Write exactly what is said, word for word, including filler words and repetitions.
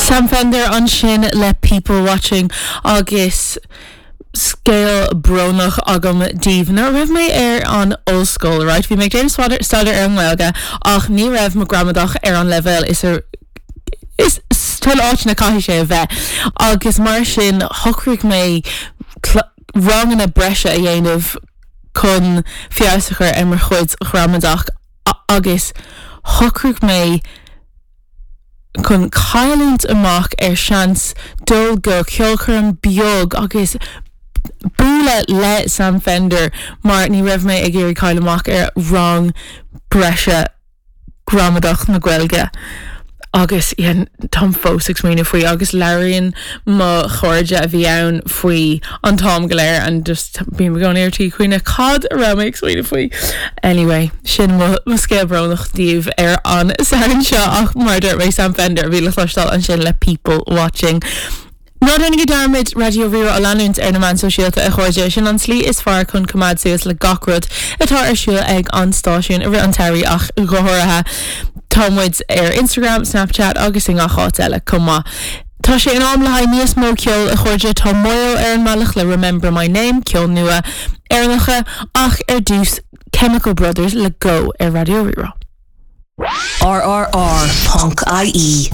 Sam Fender ansin le People Watching agus scéal brónach agam daoibh. Nuair a raibh mé ar an ollscoil, right? Bhí mé ag déanamh staidéar ar an nGaeilge ach ní raibh mo gramadach ar an leibhéal is ar is tuil áit na caithfidh sé a bheith. Agus mar sin shocraigh mé ranganna breise a dhéanamh chun feabhas a chur ar mo chuid gramadach agus shocraigh mé chun cailliúint amach ar seans dul go ceolchoirm beag agus bualadh le Sam Fender mar ní raibh mé ag iarraidh cailleadh amach ar rang breise gramadach na Gaeilge. Agus táim fós ag smaoineamh faoi agus labhraíonn mo chairde a bhí ann faoi an t-am go léir and just bím i gcónaí ar tí cuimhneamh cad a raibh mé ag smaoineamh faoi. Anyway, sin mo scéal brónach daoibh ar an Satharn seo ach mar dúirt mé Sam Fender a bhí le cloisteáil ansin le People Watching. Ná déanaigí dearmad Raidió Rí-Rá a leanúint ar na meáin sóisialta a chairde sin an tslí is fearr chun coimeád suas le gach rud atá ar siúl ag an stáisiún i rith an tsamhraidh ach go háirithe. Tá muid ar Instagram, Snapchat agus i ngach áit eile chomh maith. Tá sé in am le haghaidh níos mó ceol a chairde tá Moyo ar an mbealach le Remember My Name ceol nua Éireannacha ach ar dtús Chemical Brothers le Go ar Raidió Rí-Rá. RRR.ie